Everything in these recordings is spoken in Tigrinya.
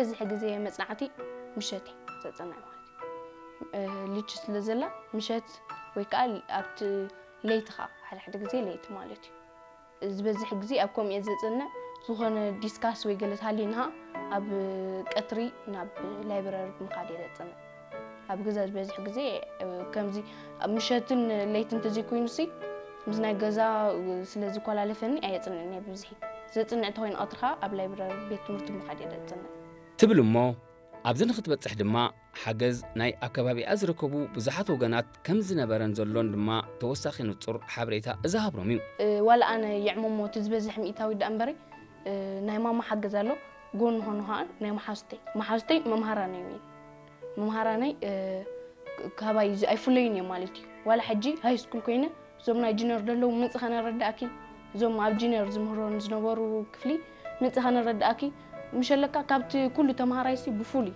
ብዙሕ ግዜ መጽናዕቲ ምሸት እየ ዘጽንዕ ማለት እዩ። እ፣ ልጅ ስለ ዘላ ምሸት ወይ ከዓ ኣብቲ ለይቲ ከዓ ሓደ ሓደ ግዜ ለይቲ ማለት እዩ። ዝበዝሕ ግዜ ኣብ ከምኡ እየ ዘጽንዕ። ዝኾነ ዲስካስ ወይ ገለ ተሃልዩና ኣብ ቀትሪ ናብ ላይብረሪ ብምኻድ እየ ዘጽንዕ። ኣብ ገዛ ዝበዝሕ ግዜ፣ እ፣ ከምዚ ኣብ ምሸትን ለይትን እንተዘይኮይኑሲ ምስ ናይ ገዛ፣ እ፣ ስለ ዝኮላለፈኒ ኣየጽንዕን እየ ብብዝሒ። ዘጽንዕ እንተኾይኑ ቀትሪ ከዓ ኣብ ላይብረሪ ቤት ትምህርቲ ምኻድ እየ ዘጽንዕ። ትብል እሞ ኣብዚ ንኽትበጽሕ ድማ ሓገዝ ናይ ኣብ ከባቢኣ ዝርከቡ ብዙሓት ወገናት ከም ዝነበረን ዘሎን ድማ ተወሳኺ ንጹር ሓበሬታ እዛ ሃብሮም እዩ። እ፣ ዋላ ኣነ ይዕመሞ እቲ ዝበዝሕ ሚእታዊ ደኣ እምበሪ፣ እ፣ ናይ ማማ ሓገዝ ኣሎ፣ ጎኒ ኾኑ ኸዓ ናይ መሓዙተይ። መሓዙተይ መምሃራነይ እዮም። መምሃራነይ፣ እ፣ ካባይ ዝ-፣ ኣይፍለዩን እዮም ማለት እዩ። ዋላ ሕጂ ሃይ ስኩል ኮይነ እዞም ናይ ጁኒየር ዘለዉ ምጽእ ከነረድኣኪ፣ እዞም ኣብ ጁኒየር ዝምህሮን ዝነበሩ ክፍሊ ምጽእ ከነረድኣኪ፣ ምሸለካ ካብቲ ኩሉ ተምሃራይሲ ብፍሉይ፣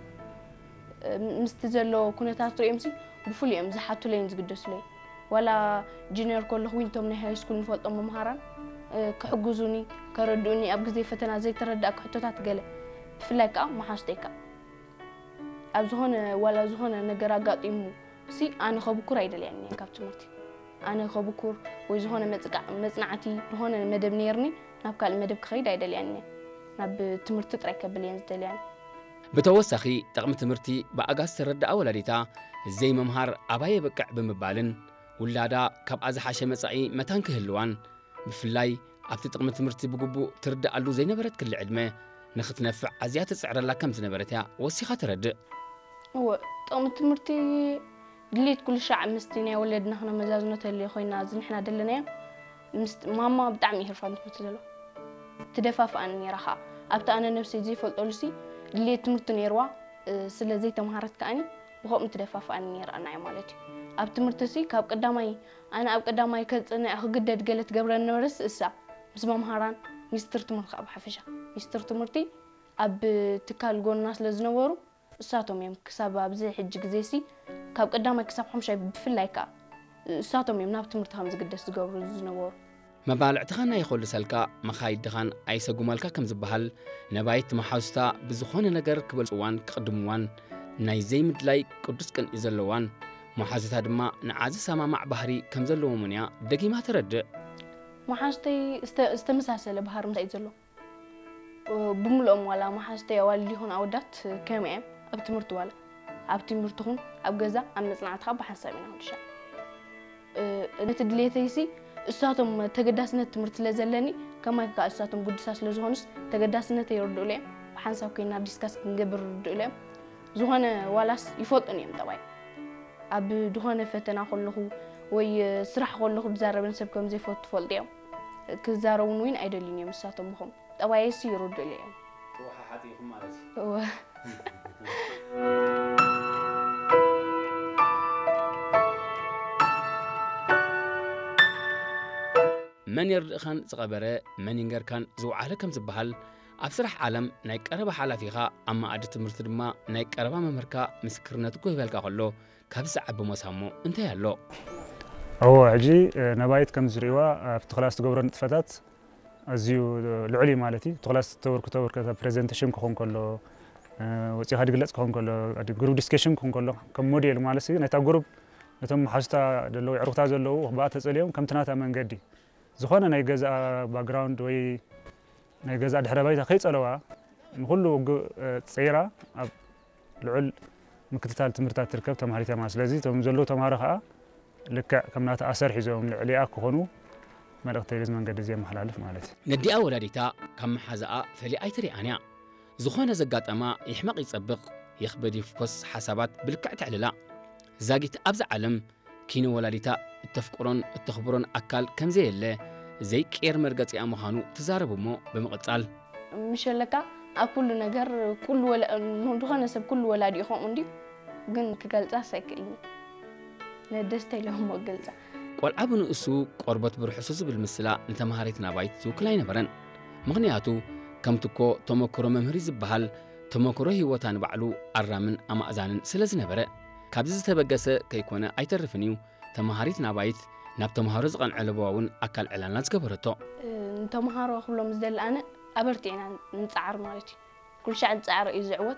እ፣ ምስቲ ዘሎ ኩነታት ርእዮምሲ ብፍሉይ እዮም ዝሓቱለይን ዝግደሱለይ። ዋላ ጁኒየር ከለኹ እውን እቶም ናይ ሃይ ስኩል ንፈልጦም መምሃራን፣ እ፣ ክሕግዙኒ፣ ከረድኡኒ፣ ኣብ ግዜ ፈተና ዘይተረዳእኩ ሕቶታት ገለ፣ ብፍላይ ከኣ መሓዙተይ ከኣ። ኣብ ዝኾነ፣ ዋላ ዝኾነ ነገር ኣጋጢሙ ሲ ኣነ ከብኩር ኣይደልያን እየ ካብ ትምህርቲ። ኣነ ከብኩር ወይ ዝኾነ መጽቃዕ-፣ መጽናዕቲ ዝኾነ መደብ ነይርኒ ናብ ካልእ መደብ ክኸይድ ኣይደልያን እየ። ናብ ትምህርቲ ጥራይ ከብል እየን ዝደልያን። ብተወሳኺ፣ ጥቕሚ ትምህርቲ ብኣጋ ዝተረድኣ ወላዲታ፣ ዘይምምሃር ኣባይ የብቅዕ ብምባልን፣ ውላዳ ካብኣ ዝሓሸ መጻኢ መታን ክህልዋን፣ ብፍላይ ኣብቲ ጥቕሚ ትምህርቲ ብግቡእ ትርድኣሉ ዘይነበረት ክሊ ዕድመ፣ ንኽትነፍዕ ኣዝያ ትጽዕረላ ከም ዝነበረት እያ ወሲኻ ተረድእ። እወ፣ ጥቕሚ ትምህርቲ ድሌት ኩሉ ሻዕ ምስቲ ናይ ወለድና ክነመዛዝኖ ተልዮ ኮይና፣ እዚ ንሕና ደለናዮ፣ ምስ ማማ ብጣዕሚ እዩ ህርፋን ትምህርቲ ዘለዎ። ትደፋፍኣኒ ነይራ ኸዓ። ኣብቲ ኣነ ነብሰይ ዘይፈልጠሉሲ፣ ድሌት ትምህርቲ ነይርዋ፣ እ፣ ስለ ዘይተምሃረት ከኣኒ፣ ብኸምኡ ትደፋፍኣኒ ነይራ ንዓይ ማለት እዩ። ኣብ ትምህርቲሲ፣ ካብ ቀዳማይ፣ ኣነ ኣብ ቀዳማይ ከጽንዕ ክግደድ ገለ ትገብረኒ ነበረስ እሳ፣ ምስ መምሃራን፣ ሚኒስትር ትምህርቲ ከኣ ብሓፈሻ። ሚኒስትር ትምህርቲ ኣብ ትካል ጎንና ስለ ዝነበሩ፣ እሳቶም እዮም ክሳብ ኣብዚ ሕጂ ግዜሲ፣ ካብ ቀዳማይ ክሳብ ሓሙሻይ ብፍላይ ከኣ፣ እሳቶም እዮም ናብ ትምህርቲ ከም ዝግደስ ዝገብሩ ዝነበሩ። መባልዕትኻን ኣይኾልሰልካ፣ መኻይድኻን ኣይሰጉመልካ ከም ዝበሃል፣ ነባይት መሓዙታ ብዝኾነ ነገር ክበልጽዋን ክቕድምዋን ናይ ዘይምድላይ ቅዱስ ቅንኢ ዘለዋን፣ መሓዙታ ድማ ንዓ ዝሰማማዕ ባህሪ ከም ዘለዎምን እያ ደጊማ ተረድእ። መሓዙተይ ዝተ-፣ ዝተመሳሰለ ባህሪ ምሳይ ዘሎ። ብምልኦም ዋላ መሓዙተይ ኣዋልድ ይኹን ኣወዳት ከምኡ እዮም። ኣብ ትምህርቲ ዋላ፣ ኣብ ትምህርቲ ኹን ኣብ ገዛ፣ ኣብ መጽናዕትኻ ብሓንሳብ ኢና ክንሻ። እ፣ ነቲ ድሌተይሲ እሳቶም ተገዳስነት ትምህርቲ ስለ ዘለኒ፣ ከማይ ከኣ እሳቶም ግዱሳት ስለ ዝኾኑስ ተገዳስነተይ ይርድኡለይ እዮም። ብሓንሳብ ኮይና ዲስካስ ክንገብር ይርድኡለይ እዮም። ዝኾነ ዋላስ ይፈልጡን እዮም ጠባይ። ኣብ ዝኾነ ፈተና ከለኹ ወይ ስራሕ ከለኹ ዝዛረበን ሰብ ከም ዘይፈቱ ትፈልጡ እዮም። ክዛረቡን እውን ኣይደልዩን እዮም እሳቶም ብኸም ጠባየሲ ይርድኡለይ እዮም። ተወሓሓጢ ኢኹም ማለት እዩ። እወ። መን የርድእኻን ዝቐበረ፣ መን ይንገርካን ዝወዓለ ከም ዝበሃል፣ ኣብ ስራሕ ዓለም ናይ ቀረባ ሓላፊኻ ኣብ መኣዲ ትምህርቲ ድማ ናይ ቀረባ መምህርካ ምስክርነት ክህበልካ ከሎ፣ ካብ ዝዓቢ ሞሳሞ እንታይ ኣሎ? እዎ፣ ሕጂ፣ እ፣ ነባይት ከም ዝርእይዋ ኣብቲ ክላስ ትገብሮ ንጥፈታት ኣዝዩ ልዑል እዩ ማለት እዩ። እቲ ክላስ ተበርክቶ በርከታ ፕሬዘንቴሽን ክኸውን ከሎ፣ እ፣ ወጺኻ ድግለጽ ክኸውን ከሎ፣ ግሩፕ ዲስከሽን ክኸውን ከሎ፣ ከም ሞዴል ማለት እዩ። ነታ ግሩፕ፣ ነቶም መሓዙታ ዘለዉ፣ የዕሩኽታ ዘለዉ፣ ብኣ ተጸልዮም ከምቲ ናታ መንገዲ ዝኾነ ናይ ገዛኣ ባክግራውንድ ወይ ናይ ገዛእ ድሕረ ባይታ ከይጸለዋ ንኹሉ ውግእ፣ እ፣ ጸይራ ኣብ ልዑል ምክትታል ትምህርትታት ትርከብ ተማሃሪት እያ ማለት። ስለዚ እቶም ዘለዉ ተምሃሮ ከኣ ልክዕ ከም ናታ ኣሰር ሒዞም ልዕሊኣ ክኾኑ መልእኽተይ በዚ መንገዲ እዚ የመሓላልፍ ማለት እዩ። ነዲኣ ወላዲታ ካብ መሓዛኣ ፈሊያ ኣይትሪኣን እያ። ዝኾነ ዘጋጠማ ይሕመቕ ይጸብቕ፣ ይኽበድ ይፍኮስ ሓሳባት ብልክዕ ተዕልላ። ዛጊት ኣብዛ ዓለም ኪነ ወላዲታ እተፍቅሮን እተኽብሮን ኣካል ከም ዘየለ ዘይቅየር መርገጺኣ ምዃኑ ትዛረብ እሞ ብምቕጻል፣ ምሸለካ ኣብ ኩሉ ነገር፣ ኩሉ ወላ-፣ ዝኾነ ሰብ ኩሉ ወላዲኡ ከምኡ እንድዩ፣ ግን ክገልጻስ ኣይክእልን። ንደስታ ኢለ እሞ ክገልጻ። ቆልዓ ብንእሱ ቆርበት ብርሑሱ ዝብል ምስላ ንተምሃሪት ናባይት ዝውክል ኣይነበረን። ምኽንያቱ ከምቲ እኮ ተመክሮ መምህር እዩ ዝበሃል፣ ተመክሮ ህይወታ ንባዕሉ ኣራምን ኣማእዛንን ስለ ዝነበረ፣ ካብዚ ዝተበገሰ ከይኮነ ኣይተርፍን እዩ። ተምሃሪት ናባይት ናብ ተምሃሮ ዝቐንዐ ለበዋ እውን ኣካል ዕላልና ዝገበረቶ። እ፣ ንተምሃሮ ክብሎም ዝደሊ ኣነ ኣበርቲዕና ንጽዓር ማለት እዩ። ኩሉ ሻዕ ዝጸዓረ እዩ ዝዕወት።